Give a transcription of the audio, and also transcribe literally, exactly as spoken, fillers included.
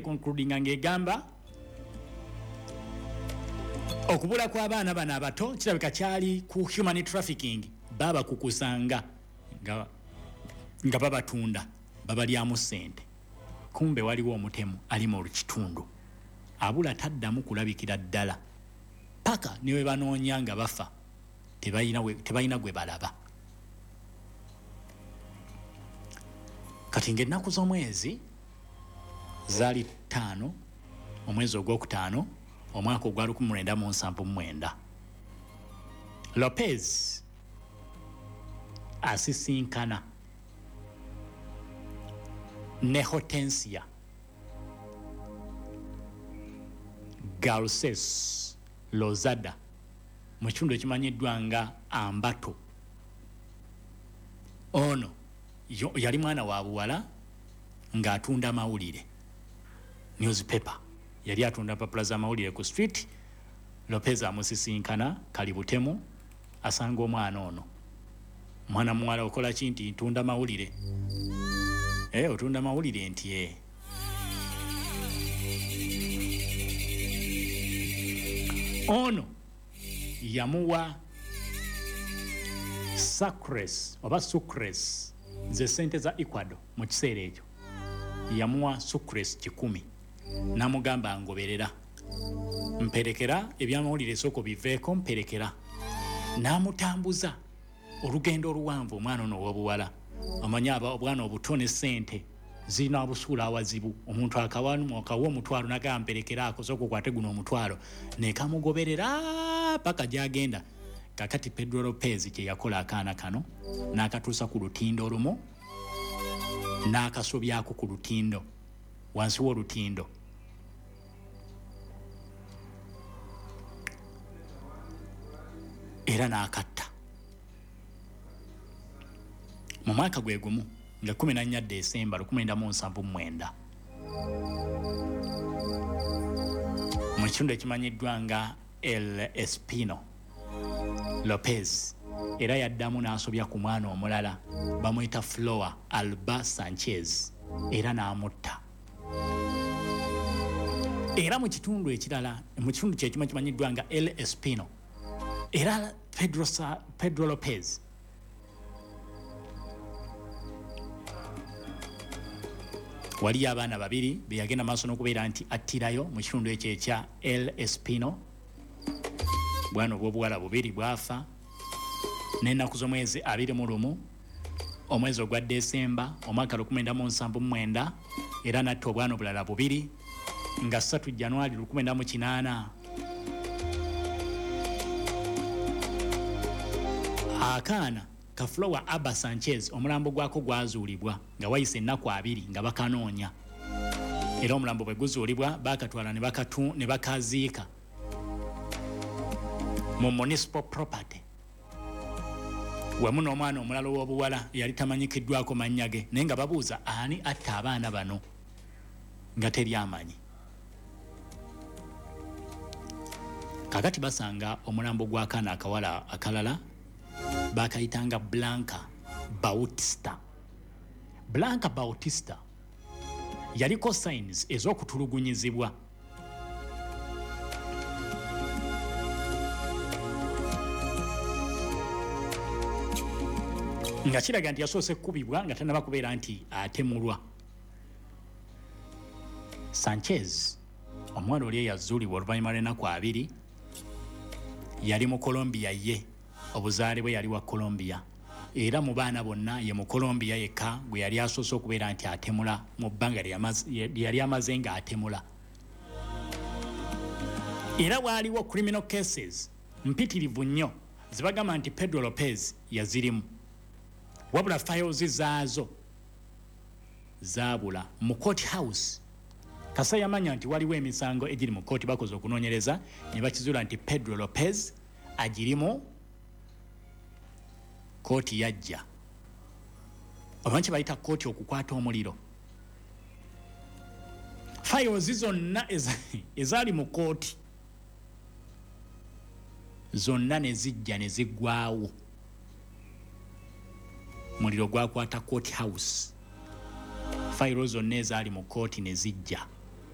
Concludinga ng'egamba okubula kw'abaana bano abato kirabika kyali ku human trafficking, babakukusanga nga, nga babatunda, babalyamu ssente. Kumbe waliwo omutemu ali mu kitundu abula, taddamu kulabikira ddala paka ne we banoonya nga bafa, tebalina we- tebalina gwe balaba. Kati ng'ennaku z'omwezi zaali ttaano, omwezi ogwokutaano, omwaka ogwa lukumi lwenda mu nsanvu mu mwenda, Lopez asisinkana ne Hortensia Garces Lozada mu kitundu ekimanyiddwa nga Ambato. Ono yo- yali mwana wa buwala ng'atunda mawulire, newspaper, yali atunda mpapula z'amawulire ku street. Lopez amusisinkana kali butemu, asanga omwana ono, mwana muwala. "Okola ki?" Nti, "Ntunda mawulire." "Eh, otunda mawulire?" Nti, "E." Ono yamuwa sucres oba sucres, ze sente za Ecuador mu kiseera ekyo. Yamuwa sucres kikumi, namugamba, "Ngoberera, mperekera ebyamawulire, esooka biveeko, mperekera." N'amutambuza olugendo oluwanvu. Omwana ono ow'obuwala, omanyi aba obwana obuto ne sente zirina busuula awazibu. Omuntu akawa akawa omutwalo, nagamba, "Mperekeraako, sooka okwate guno omutwalo," nekamugoberera paka gyagenda. Kakati Pedro Lopez kyeyakola, akaana kano n'akatuusa ku lutindo olumu, n'akasobyako ku lutindo, wansi w'olutindo, era n'akatta. Mu mwaka gwe gumu nga kumi na nnya Desemba lukumi lwenda mu nsanvu mu mwenda, mu kitundu ekimanyiddwa nga El Espino, Lopez era yaddamu n'asobya ku mwana omulala bamuyita Flor Alba Sanchez, era n'amutta, era mu kitundu ekirala, mu kitundu kyekimu ekimanyiddwa nga El Espino. Era Pedro, Sa, Pedro Lopez waliyo abaana babiri be yagenda maaso n'okubeera nti attirayo mu kitundu ekyo ekya El Espino. Bwana obw'obuwala bubiri bwafa. N'ennaku z'omwezi abiri mu lumu, omwezi ogwa Desemba, omwaka lukumi lwenda mu nsanvu mu mwenda, era natta obwana obulala bubiri. Nga ssatu Januari lukumi lwenda mu kinaana, akaana ka Flor Alba Sanchez omulambo gwako gwazuulibwa nga wayise ennaku abiri nga bakanoonya. Era omulambo bwe guzuulibwa, bakatwala ne bakatu- ne bakaziika mu municipal property wamu n'omwana omulala ow'obuwala yali tamanyikiddwako mannya ge, naye nga babuuza ani atta abaana bano, nga teri amanyi. Kakati basanga omulambo gw'akaana akawala akalala bakayitanga Blanca Bautista. Blanca Bautista yaliko signs ez'okutulugunyizibwa. Nga kiraga nti yasoose kukubibwa nga tanaba kubeera nti atemulwa. Sanchez, omuwala oli eyazuulibwa oluvannyuma lw'ennaku abiri, yali mu Colombia. Ye obuzaale bwe yali wa Colombia, era mu baana bonna ye mu Colombia yekka gwe yali asoose okubeera nti atemula mu bbanga lye yali amaze ng'atemula. Era waaliwo criminal cases mpitirivu nnyo zibagamba nti Pedro Lopez yazirimu, wabula files zaazo zaabula mu court house. Kasa yamanya nti waliwo emisango egiri mu kooti, bakoze okunoonyereza ne bakizuula nti Pedro Lopez agirimu. Kooti yajja, oba kye bayita kooti okukwata omuliro, files zonna ezaali mu kooti zonna ne zijja ne ziggwawo. Muliro gwakwata court house, fayiro zonna ezaali mu kooti ne zijja.